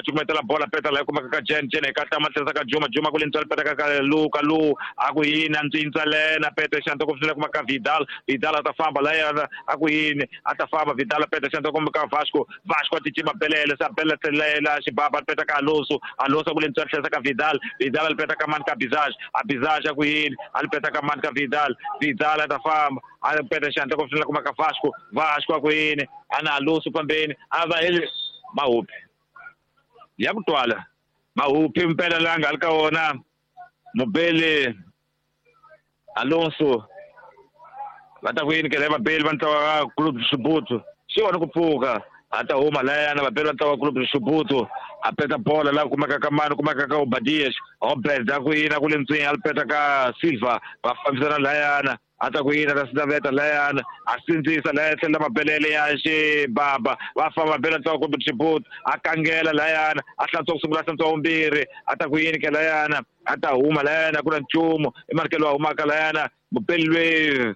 Cukumetela bola peta la kumeka ka Jen Jen ka tama tlhela ka Juma Juma ku le ntswalo peta ka Lu ka Lu a ku yini a ntsintsa lena peta xanta ku fika kuma ka Vidal Vidal a ta famba la yena a ku yini a ta famba Vidal peta xanta kuma ka Vasco Vasco a cicima belele sa bela tlhelela xibaba peta ka Alonso Alonso ku le ntswalo tlhela ka Vidal Vidal a peta ka man ka Bizage a Bizage a ku yini a peta ka man ka Vidal Vidal a ta famba a peta xanta ku fika kuma ka Vasco Vasco a ku yini ana Alonso pambeni a va mahupi ya ku twala mahupi mpela la nga ri ka wona mubeli Alonso va ta ku yini kele vabeli va ntlawa wa Clube de Chibuto xi wona ku pfuka a ta huma layana vabeli va ntlawa wa Clube de Chibuto a peta bola la kumeka ka mani kumeka ka Obadias Obed a ku yini a ku le ntswini a peta ka Silva va fambisana layana a ta ku yini ta sinaveta layana a sindzisa laya tlhela mabelele ya xibaba va famba bela ntlawa kumbe Chibuto a kangela layana a hlantswa ku sungula a hlantswa vumbirhi a ta ku yini ke layana a ta huma layana ku na nchumu i marikelo wa humaka layana mupeli loyi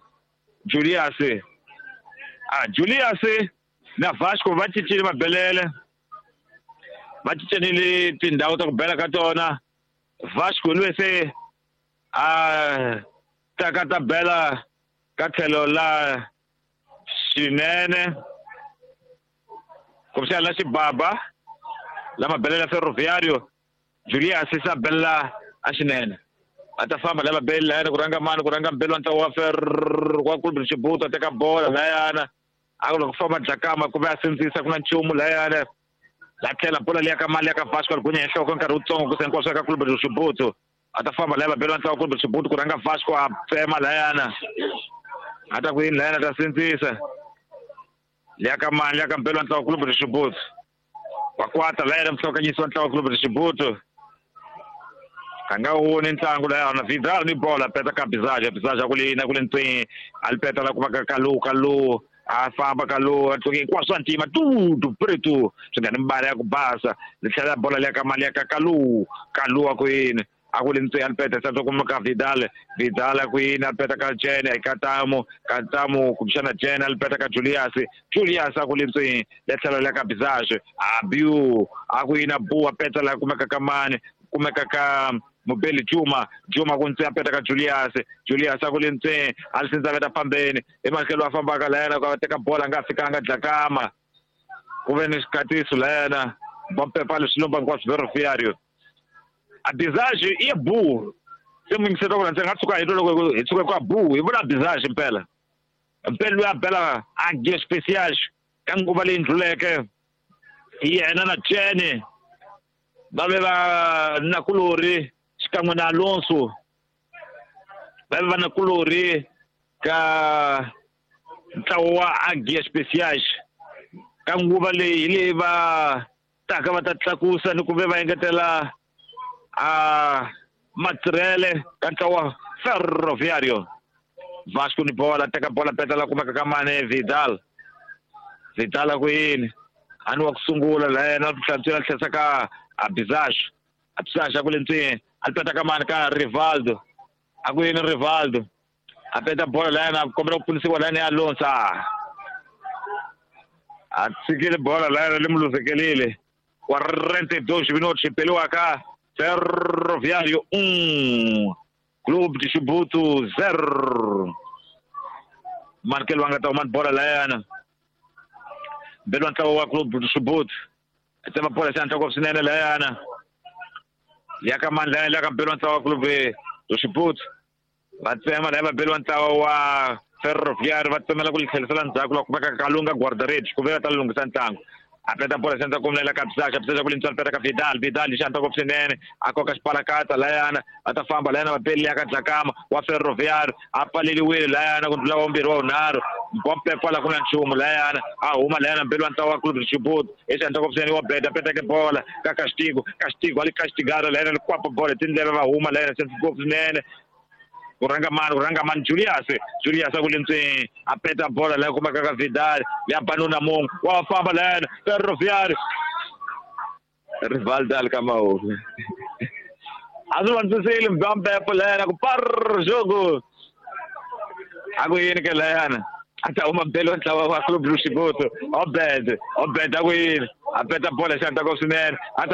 Julius a Julius na Vasco va cincile mabelele va cincenile tindhawu ta ku bela ka tona Vasco loyi se a taka ta bela ka tlhelo la xinene kumbexana la xibaba la mabelela Ferroviario Julius sa bela a xinene a ta famba la mabeli layana ku rhanga mani ku rhanga mbeli wa ntlawa wa wa Clube de Chibuto a teka bola layana a ku loko famba Dlakama ku ve a sindzisa ku na nchumu layana la tlhela bola liya ka mali ya ka Vasco a gunya hi nhloko nkarhi wutsongo ku se hinkwaswo ka Clube de Chibuto a ta famba laya vabeli va ntlawa Clube de Chibuto ku rhanga Vasco a tsema layana a ta ku yini layana ta sindzisa liya ka mani liya ka mbeli wa ntlawa Clube de Chibuto wa kwata layana muhlokanyisi wa ntlawa Clube de Chibuto a nga woni ntlangu layana Vidal ni bola peta ka Bizage Bizage a ku le yini a ku le ntswini a li peta la kumaka Kalu Kalu a famba Kalu a tluke hinkwaswo swa ntima tutu preto swi nga ni mbala ya ku basa li tlhela bola liya ka mali ya ka Kalu Kalu a ku yini a ku le ntswini a li peta santswa kuma ka Vidal Vidal a ku yini a peta ka Jen ka Tamu ka Tamu kumbexana Jen a li peta ka Julius Julius a ku le ntswini le tlhela la ka Bizage a biu a ku yini a bu a peta la kumeka ka mani kumeka ka mubeli Juma Juma ku ntse a peta ka Julius Julius a ku le ntswini a li sindza veta fambeni emahlweni a fambaka layana ku teka bola a nga fikanga Dlakama ku ve ni xikatiso layana bompepa leswi lomba hinkwaswo Ferroviario a Bizage i ya bu se mu yingiseta ku ndzi nga tshuka hi twa loko hi tshuka ku bu hi vula Bizage mpela mpela loyi a bela a gear special ka nguva leyi ndluleke yena na Jene va ve va nakulorhi xikan'we na Alonso va ve va nakulorhi ka ntlawa wa Agia Special ka nguva leyi hi leyi va taka va ta tlakusa ni ku ve va engetela a matirhele ka ntlawa wa Ferroviario Vasco ni bola teka bola peta la kumeka ka mane Vidal Vidal a ku yini a ni wa ku sungula la yena hlantswela tlhesa ka Abizage Abizage a ku le ntswini a peta ka mani ka Rivaldo a ku yini Rivaldo a peta bola la yena a kombela ku pfunisiwa la yena ya Alonso a tshikile bola la yena li mu luzekelile 42 minutos xipeliwaka Ferroviario 1 Clube de Chibuto 0 Markelo a nga ta huma ni bola layana mbeli wa ntlawa wa Clube de Chibuto tsema bola xi ngopfu swinene layana ya ka mani layana ya ka mbeli wa ntlawa wa Clube de Chibuto va tsema laya vabeli wa ntlawa wa Ferroviario va tsemela ku li tlherisela ndzhaku loko kumeka Kalunga guarda-redes ku ve va ta lunghisa ntlangu a peta bola xandla kumela ka Bizage Bizage ku lintswani peta ka Vidal Vidal xandla ngopfu swinene a koka xipalakata layana a ta famba layana vapeli ya ka Dlakama wa Ferroviario a pfaleliwile layana ku ndlula wa vumbirhi wa vunharhu bompe kwala ku na nchumu layana a huma layana mbeli wa ntlawa wa Clube de Chibuto hi xandla ngopfu swinene wa beda peteke bola ka Castigo Castigo a li castigara layana li kwapa bola tindleve va huma layana xandla ngopfu swinene ku rhanga mani Julius Julius a ku le ntswini a peta bola leyi kumeka ka Vidal ya banuna mungu wa famba layana Ferroviario Rivaldo ali ka mahomi a swi vandzisile mbambepo layana ku par jogo a ku yini ke layana a ta huma mbeli wa ntlawa wa Clube do Chibuto Obed Obed a ku yini A peta bolo hi xihatla swinene. A ta